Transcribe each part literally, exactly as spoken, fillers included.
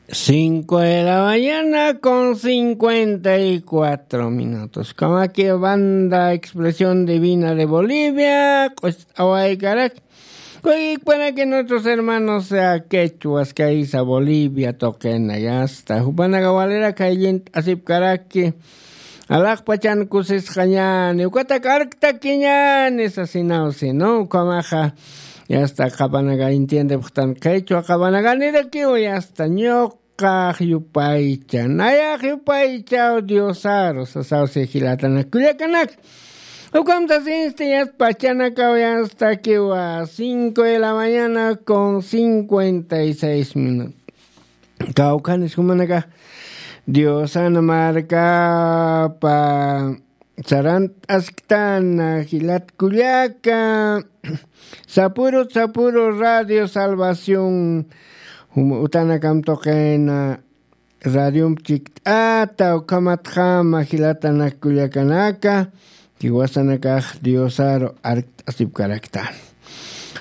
Cinco de la mañana con cincuenta y cuatro minutos. Kamaki banda Expresión Divina de Bolivia, q'ust'awaykarak. Kuyikpanaki nuestros hermanos, eh, quechuas, kaysa Bolivia, toqena, ya está. Jupanaga walera kayllint asipkaraki. Alaqpachan kusisqañani, ukatak arktakiñani sasinaw, sino ukamaxa, ya está, qapanaga entiende puxtan qechwa, qapanaga nirakiw, ya está, ñuqax yupaycha, nayax yupaychaw Diosaru, sasaw, si jilatanak kullakanak. Ukamta sinsti, ya está, pachanakaw, ya está, kiwa cinco de la mañana con cincuenta y seis minutos. Kawkhanis jumanaka Diosana markapa sarant'asktana jilat kullaka. Sapuru, sapuru Radio Salvación, jum-, utanakam tuqina radiomp chikt'ata, ukhamatjama jilatanak kullakanaka, jiwasanakax Diosaru arkt'asipkarakta.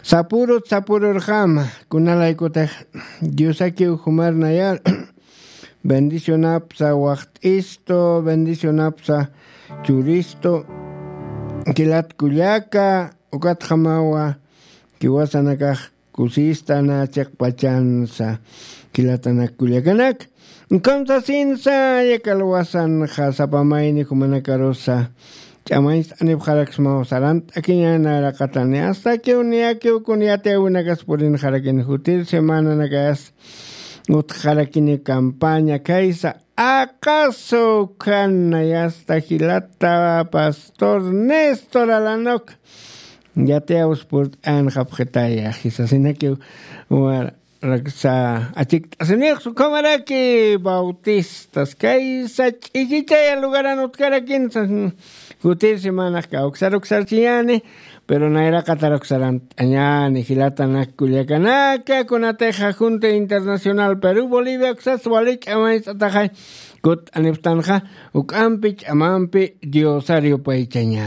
Sapurut sapururxama, kunalaykutix Diosakiw jumarnayar bendicionapsa waqt'istu, bendicionapsa churistu, jilat kullaka, ukatjamawa jiwasanakax kusistana chiqpachansa jilatanak kullakanak. Ukham sasinsa, yakalwasanxa sapa mayni jumanakarusa ch'amañcht'anipxaraksmaw sarant'akiñäni nayraqatani, astakiw niyakiw kun yatiyäwinakas purinxarakini jutir semananakayas utjxarakini campaña kaysa. Aqasu ukhana, ya está, jilata pastor Néstor Alanok. Yatiyäwis purt'anxapxitaya, jisasinakiw waraksa achikt'asinix, ukhamaraki Bautistas kaysa Ch'ichichaya lugaran utjarakinsa. Jutir semanax kawksar uksarchiyäni, pero nayraqatar uksarant'añäni jilatanak kullakanaka, kunatixa Junta Internacional Perú Bolivia uksas wali ch'amañcht'ataxay kutt'anipxtanxa, uk'ampi ch'amampi Diosar yupaychañäni.